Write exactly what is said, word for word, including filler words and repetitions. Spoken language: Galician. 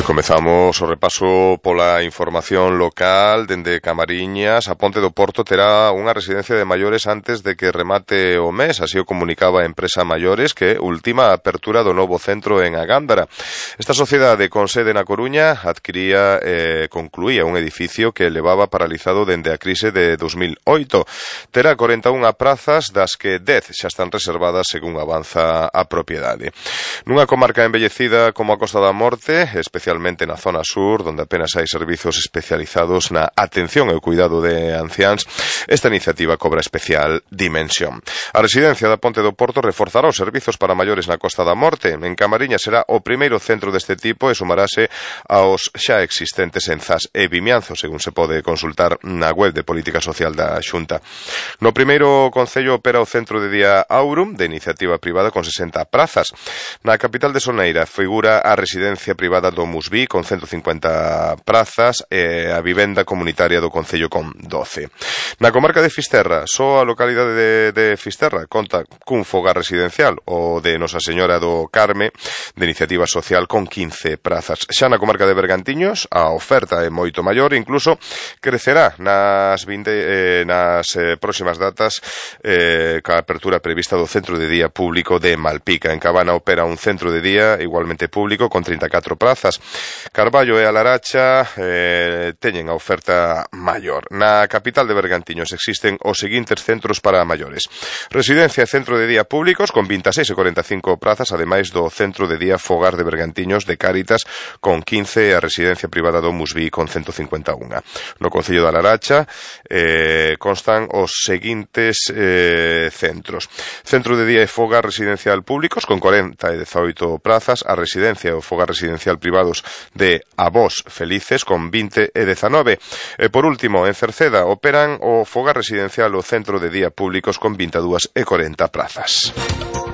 E comezamos o repaso pola información local. Dende Camariñas, a Ponte do Porto terá unha residencia de maiores antes de que remate o mes, así o comunicaba a empresa Maiores, que ultima a apertura do novo centro en Agándara. Esta sociedade con sede na Coruña adquiría e eh, concluía un edificio que levaba paralizado dende a crise de dos mil oito. Terá corenta e unha prazas, das que dez xa están reservadas según avanza a propiedade. Nunha comarca embellecida como a Costa da Morte, especialmente na zona sur, donde apenas hai servizos especializados na atención e o cuidado de anciáns, esta iniciativa cobra especial dimensión. A residencia da Ponte do Porto reforzará os servizos para maiores na Costa da Morte. En Camariñas será o primeiro centro deste tipo e sumarase aos xa existentes en Zas e Vimianzo, según se pode consultar na web de Política Social da Xunta. No primeiro concello opera o centro de día Aurum, de iniciativa privada, con sesenta prazas. Na capital de Soneira figura a residencia privada do Musví, con ciento cincuenta prazas, e a vivenda comunitaria do concello con doce. Na comarca de Fisterra, só a localidade de, de Fisterra conta cun fogar residencial, o de Nosa Señora do Carme, de iniciativa social, con quince prazas. Xa na comarca de Bergantiños, a oferta é moito maior, incluso crecerá nas, vinte, eh, nas eh, próximas datas, eh, ca apertura prevista do centro de día público de Malpica. En Cabana opera un centro de día igualmente público con treinta e catro prazas. Carballo e a Laracha eh, teñen a oferta maior. Na capital de Bergantiños existen os seguintes centros para maiores: residencia e centro de día públicos con vinte e seis e cuarenta e cinco prazas, ademais do centro de día Fogar de Bergantiños de Cáritas con quince e a residencia privada do Musví con ciento cincuenta e un. No concello da Laracha eh, constan os seguintes eh, centros: centro de día e fogar residencial públicos con cuarenta e dezaoito prazas, a residencia e o fogar residencial privados de Avós Felices con vinte e dezanove. E por último, en Cerceda operan o fogar residencial o centro de día públicos con vinte e dúas e cuarenta prazas.